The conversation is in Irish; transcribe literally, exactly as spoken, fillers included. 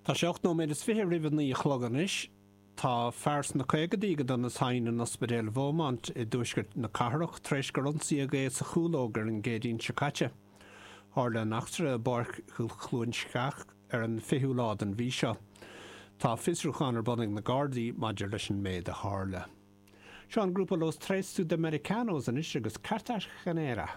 Tá sé ocht nóiméad is fiche roimh a naoi a chlog anois. Tá fear sna caogaidí go dona tinn in ospidéal Beaumont i dtuaisceart na cathrach tar éis gur ionsaíodh é sa Chúlóg ar an gCéadaoin seo caite. Tharla an eachtra i bPáirc Chluain Sceach ar an fichiú lá den mhí seo. Tá fiosrúchán ar bun ag na Gardaí maidir leis an méid a tharla. Seo an grúpa Los Tres Sudamericanos anois agus Cartagenera.